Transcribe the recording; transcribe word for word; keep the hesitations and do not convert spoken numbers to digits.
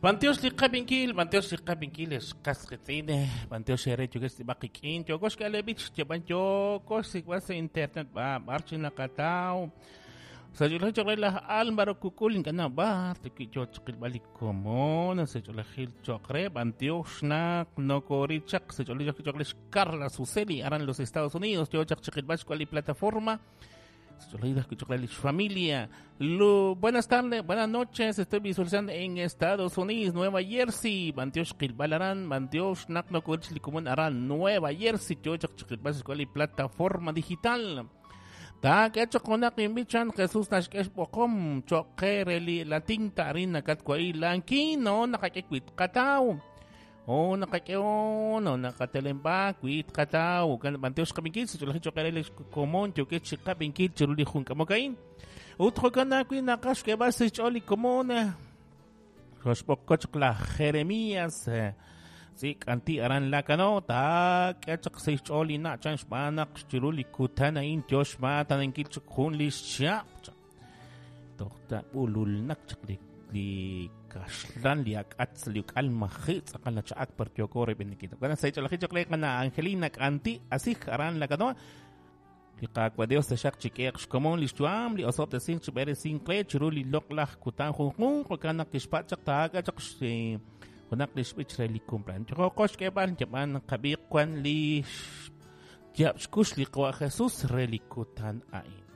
Bantiox li qabinkil, bantiox li qabinkil xqas qitz'in, bantiox ere yukes baqikin, yokox kalebich, cheban yokox sikwas internet ba barchi naqataw. Sayulaj choqre laj Álvaro Kukul inkana bar tiki yo chiqilb'al komon, sayulajil choqre bantiox naq nokorichaq, sayulaj choqre Carla Suseli aran los Estados Unidos, yo chaq chiqilb'al xkual plataforma. Familia. Lu, buenas tardes, buenas noches. Estoy visualizando en Estados Unidos, Nueva Jersey. Bantiox Qilbalarán, Bantiox Nakno Aran, Nueva Jersey. Plataforma digital. Ta que hecho con bichan Jesús Nashkesh Bokom, Choquereli, la tinta harina Katkuai, Lanquino, Nakakekwit Katau. Oh, nakakeo, no nakatelemba, kuit katao, kan banteos kabinkil, chulaji chokarele komon, chokechi kabinkil, churuli junkamokain. Utro kanakui nakash que vas choli komona. Roshpokochkla Jeremías, sí, kanti aran la canota, que chak se choli na chanch banak, churuli kutana in tiosh matan en kilchuk junlish chap. Dokta ulul nakchak li kaxlan li ak'atz li uk'al majitz aqal la cha'ak per yokore benikito. Kana sa icho la jicho kana Angelina kanti asij aran la kanoa. Li qaqwa Dios te xaq chikeq xkomon li xtuam li osop te sin chibere sin kle chiruli loqlaj kutan junjun kana kixpachaq taaka chaq junak li xb'ich re li cumpleaños. Choqox keb'al chaban qabiq kwan li yab xkux li qwa Jesús re li kutan ain.